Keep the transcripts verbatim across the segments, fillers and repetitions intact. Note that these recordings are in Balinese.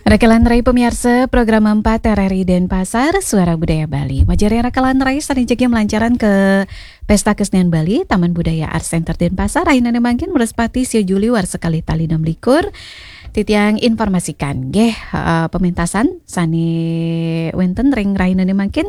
Rakalan rai pamiarsa, program empat R R I Denpasar, Suara Budaya Bali. Majari rakalan rai sareng jagi malancaran ka Pesta Kesenian Bali, Taman Budaya Art Center Denpasar, rahinane mangkin, Wrespati, sia Juli, warsa kalih tali enam likur. Titiang informasikan, nggih, eh, pementasan sane wenten ring rahinane mangkin,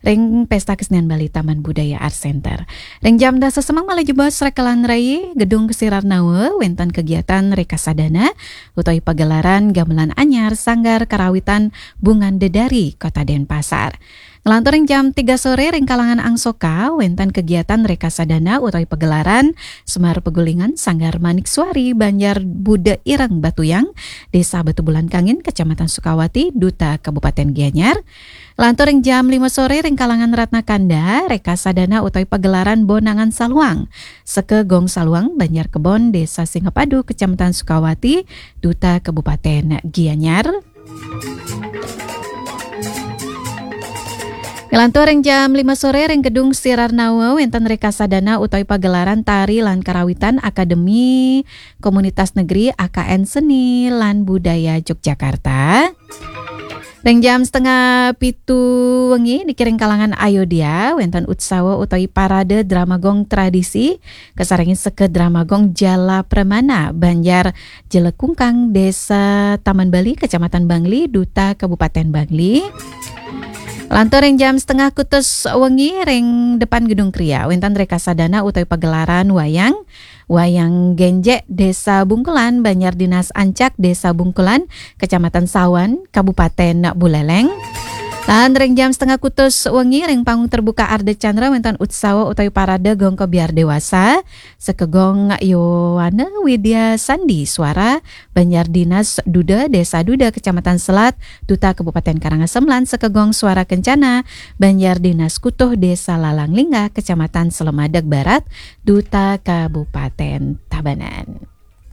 ring Pesta Kesenian Bali, Taman Budaya Art Center. Ring jam dasa semeng malih jebos rakalan rai, Gedung Ksirarnawa, wenten kegiatan rekasadana utawi pagelaran gamelan anyar Sanggar Karawitan Bungan Dedari, Kota Denpasar. Nglantur ring jam tiga sore ring kalangan Angsoka, wenten kegiatan rekasadana utawi pagelaran Semar Pegulingan Sanggar Manik Suari, Banjar Buda Ireng Batuyang, Desa Batubulan Kangin, Kecamatan Sukawati, Duta Kabupaten Gianyar. Nglantur ring jam lima sore ring kalangan Ratna Kanda, rekasadana utawi pagelaran Bonangan Saluang, Seke Gong Saluang, Banjar Kebon, Desa Singapadu, Kecamatan Sukawati, Duta Kabupaten Gianyar. Nglantur ring jam lima sore ring Gedung Ksirarnawa, wenten rekasadana utawi pagelaran tari lan karawitan Akademi Komunitas Negeri A K N Seni lan Budaya Yogyakarta. Ring jam setengah pitu wengi niki ring kalangan Ayodhya, wenten utsawa utawi parade drama gong tradisi, kasarengin Seke Drama Gong Jala Pramana, Banjar Jelekungkang, Desa Taman Bali, Kecamatan Bangli, Duta Kabupaten Bangli. Lantur ring jam setengah kutus wengi ring depan Gedung Kria, wenten rekasadana utawi pagelaran wayang, Wayang Genjek, Desa Bungkulan, Banjar Dinas Ancak, Desa Bungkulan, Kecamatan Sawan, Kabupaten Buleleng. Lan ring jam setengah kutus wengi ring panggung terbuka Ardha Candra, wenten utsawa utawi parade gong kebyar dewasa, Seke Gong Yowana Widya Sandi Suara, Banjar Dinas Duda, Desa Duda, Kecamatan Selat, Duta Kabupaten Karangasem, lan Seke Gong Suara Kencana, Banjar Dinas Kutuh, Desa Lalang Lingga, Kecamatan Selemadeg Barat, Duta Kabupaten Tabanan.